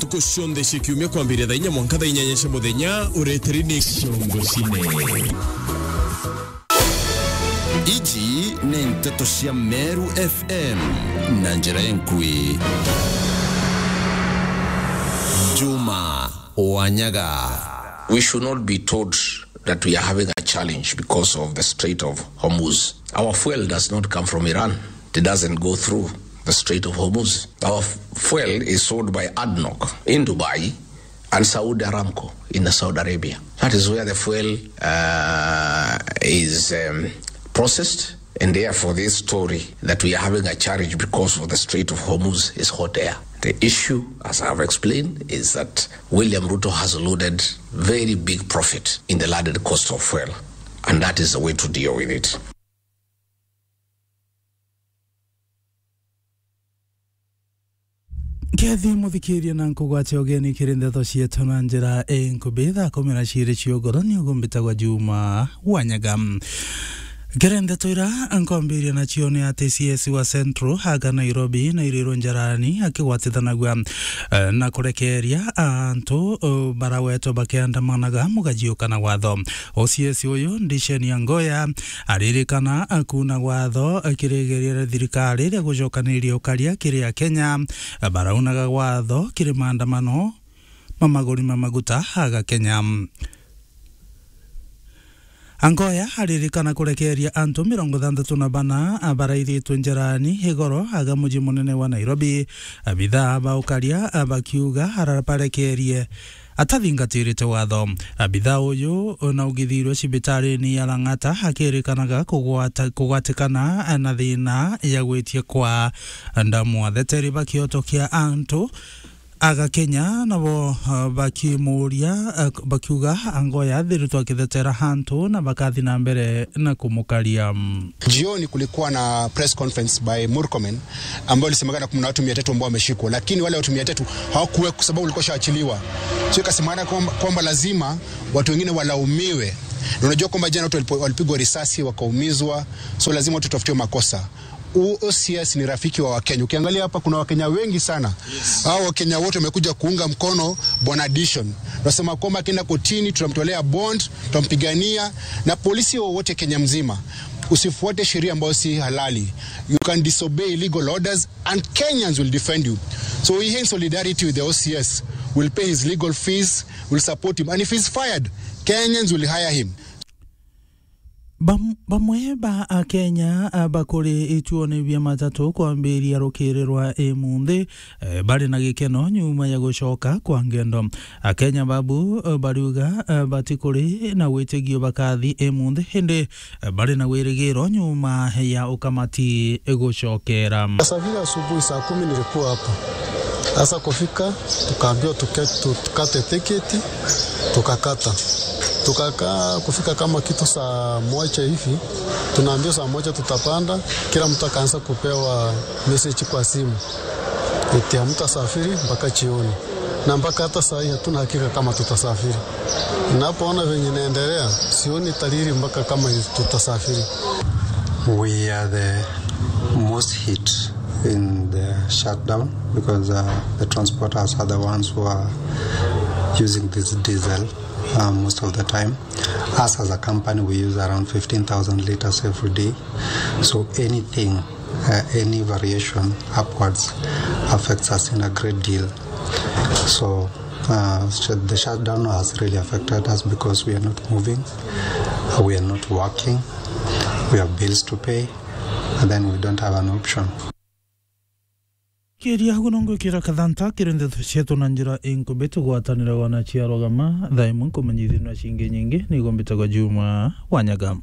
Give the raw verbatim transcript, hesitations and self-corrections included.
Ntuku cionthe cia kiumia kwambiria thaa inya mwanka thaa inyanya cia muthenya, ureteri ni Ciongo Cine. Iji ni nteto cia Meru F M na njira enkui. Juma Wanyaga. We should not be told that we are having a challenge because of the Strait of Hormuz. Our fuel does not come from Iran. It doesn't go through the Strait of Hormuz. Our f-, fuel is sold by ADNOC in Dubai and Saudi Aramco in Saudi Arabia. That is where the fuel, uh, is, um, processed. And therefore, this story that we are having a challenge because of the Strait of Hormuz is hot air. The issue, as I have explained, is that William Ruto has loaded very big profit in the landed cost of fuel, and that is the way to deal with it. Kethi muthikiria na nkugwate ugeni kiri ndeto cietu na njira inkubi, thaa kumi na ciiri cia ugoro, ni ugumbitagwa Juma Wanyaga. Kiri ndeto ira nkwambiria nacio ni ati C S wa Central aga Nairobi na irirwo njarani akigwatithanagua, eh, na kurekeria antu, eh, barawetwa bakiandamanaga mugajiuka na watho. O C S uyu Ndisheni Angoya aririkana kuna watho kiri igeria ria thirikari ria gucokaniria ukaria kiri Akenya baraunaga watho kiri maandamano ma maguri ma maguta aga Kenya. Angoya aririkana kurekeria antu mirongo thantatu na bana baraithitwe njarani igoro aga muji munene wa Nairobi. Abithaa ba ukaria bakiuga arabarekerie atathingatirite watho. Abithaa uyu na ugithirwe cibitarini ya Lang'ata akirikanaga kugwata-, kugwatikana na thina ya gwitia kwa ndamu. Atheteri ba kioto kia antu aga Kenya nabo, uh, bakimuria, uh, bakiuga Angoya athiritwe akithetera antu na bakathi na mbere na kumukaria. Jioni kulikuwa na press conference by Murkomen ambayo ilisemekana kuna watu mia tatu ambao wameshikwa, lakini wale watu mia tatu hawakuwa kwa sababu walikuwa washaachiliwa. So ikasemekana kwamba, kwamba lazima watu wengine walaumiwe. Na unajua kwamba jana watu walipo-, walipigwa risasi, wakaumizwa, so lazima watu watafutiwe makosa. O C S ni rafiki wa Wakenya. Ukiangalia hapa kuna Wakenya wengi sana. Yes. Hao Wakenya wote wamekuja kuunga mkono Bwana Dishon. Tunasema kwamba akienda kotini, tutamtolea bond, tutampigania. Na polisi wowote Kenya mzima, usifuate sheria ambayo si halali. You can disobey legal orders and Kenyans will defend you. So we are in solidarity with the O C S. We'll pay his legal fees, we'll support him. And if he's fired, Kenyans will hire him. Bam-, bamwe ba Akenya, a, bakuri ituone bia matatu kwambiria rukiri rwa imunthi, e, bari na gikeno nyuma ya gucoka kwa ngendo. Akenya babu, e, bariuga, e, batikuri na witigio bakathi imunthi, indi, e, bari na wirigiro nyuma ya ukamati gucokera. Safiri asubuhi saa kumi nilikuwa hapa. Sasa kufika, tukaambiwa tuke-, tu-, tukate tiketi, tukakata. Tukakaa kufika kama kitu saa moja hivi, tunaambiwa saa moja tutapanda, kila mtu akaanza kupewa message kwa simu eti hamtasafiri mpaka jioni. Na mpaka hata saa hii hatuna hakika kama tutasafiri. Ninapoona venye inaendelea, sioni dalili mpaka kama tutasafiri. We are the most hit in the shutdown because, uh, the transporters are the ones who are using this diesel, uh, most of the time. Us as a company, we use around fifteen thousand liters every day. So anything, uh, any variation upwards affects us in a great deal. So, uh, sh-, the shutdown has really affected us because we are not moving, we are not working, we have bills to pay, and then we don't have an option. Kiria guno ngwikira kathanta kiri ndeto cietu na njira inkubi, tugwatanire wana cia Rogama, thaa imwe nkumenyithia na cingi nyingi, nigo mbitagwa Juma Wanyaga.